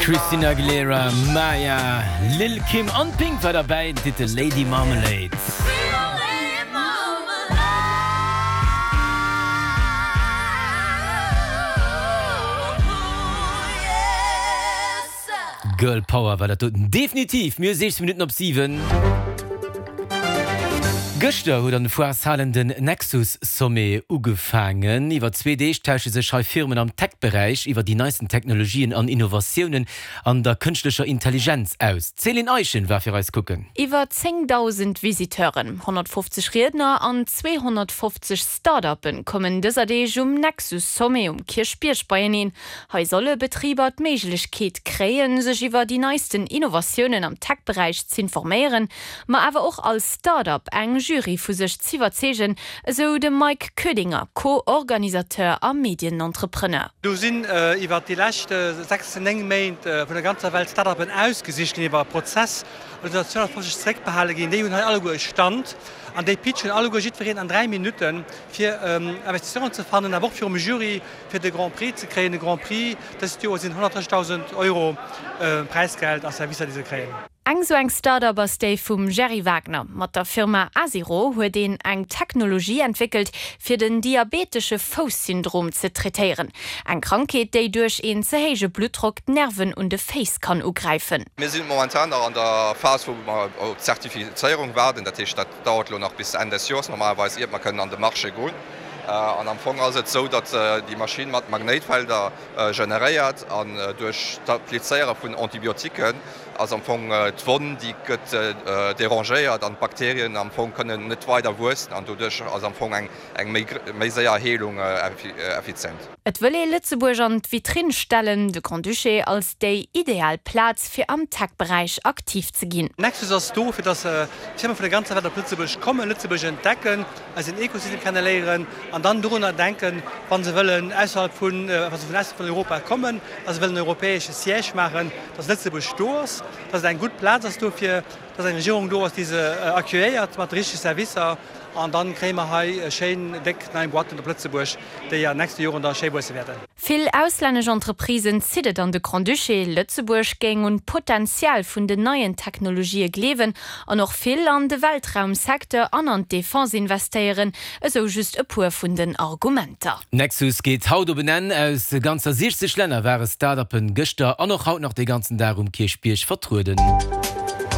Christina Aguilera, Maya, Lil' Kim an Pink war derbäi, den Titel Lady Marmalade. Girl Power war dat doten definitiv. Mir hu 16 Minutten op 7. Gëschter huet an de Foireshalen den Nexus Sommet ugefaangen. Iwwer zwee Deeg tausche sech hei Firmen am Tech-Beräich iwwer déi neisten Technologien an Innovatiounen an der kënschtlecher Intelligenz aus. D'Céline Eischen war fir eis kucken. Iwwer 10.000 Visiteuren, 150 Riedner an 250 Start-uppe kommen dëser Deeg um Nexus Sommet um Kierchbierg beieneen. Hei solle Betriber d'Méiglechkeet kréien, sech iwwer déi neisten Innovatiounen am Tech-Beräich z'informéieren, ma awer och als Start-up eng Jury vu sech z'iwwerzeegen, esou de Mike Koedinger, Co-Organisateur a Medienentrepreneur. Do sinn iwwer déi lescht 6, 9 Méint vun der ganzer Welt Start-uppen ausgesicht ginn iwwer e Prozess, an do sinn der 250 zeréckbehale ginn. Déi hunn hei alleguer e Stand an déi pitchen alleguer jiddwereen an 3 Minutten, fir Investisseuren ze fannen, awer och virum Jury, Fir de Grand Prix ze kréien, de Grand Prix dëst Joer sinn 130.000 Euro Präisgeld a Servicer, déi se kréien. Eng sou eng Start-up ass déi vum Gerry Wagner. Mat der Firma Asiro huet een eng Technologie entwéckelt, fir den diabetesche Fouss-Syndrom ze traitéieren. Eng Krankheet, déi duerch een ze héije Bluttdrock d'Nerven un de Féiss kann ugräifen. Mir sinn momentan nach an der Phas, wou mer op d'Zertifizéierung waarden. Dat heescht, dat dauert elo nach bis Enn des Joers normalerweis, iert mer kënnen an de Marché goen. An am Fong ass et esou, datt déi Maschinn mat Magnéitfelder generéiert an duerch d'Applizéiere vun Antibiotiquen ass am Fong d'Wonn, déi gëtt derangéiert an d'Bakterien am Fong kënnen net weider wuessen an doduerch ass am Fong eng méi séier Heelung effizient. Et wëll ee Lëtzebuerg an d'Vitrinn stellen, de Grand-Duché als déi ideal Plaz fir am Tech-Beräich aktiv ze ginn. Nexus ass do, fir dass Firme vun der ganzer Welt op Lëtzebuerg kommen, Lëtzebuerg entdecken, eisen Ekosystem kenneléieren an dann dorunner denken, wa se wëllen ausserhalb vun, wa se vun ausserhalb vun Europa kommen a se wëllen en europäesche Siège maachen, dass Lëtzebuerg do ass, dass et eng gutt Plaz ass dofir, dass eng Regierung do ass, déi se accueilléiert mat de richtege Servicer. An dann kréie mer hei schéin déck nei Boîten op Lëtzebuerg, déi an nächste Joren da schéi wuesse wäerten. Vill auslännesch Entreprisen zitt et an de Grand-Duché. Lëtzebuerg géing un d'Potenzial vun den neien Technologië gleewen an och vill an de Weltraumsecteur an an d'Defense investéieren, esou just e puer vun den Argumenter. Nexus geet haut op en Enn. Aus ganzer 60 Länner ware Start-uppen gëschter an och haut nach de ganzen Dag um Kierchbierg vertrueden.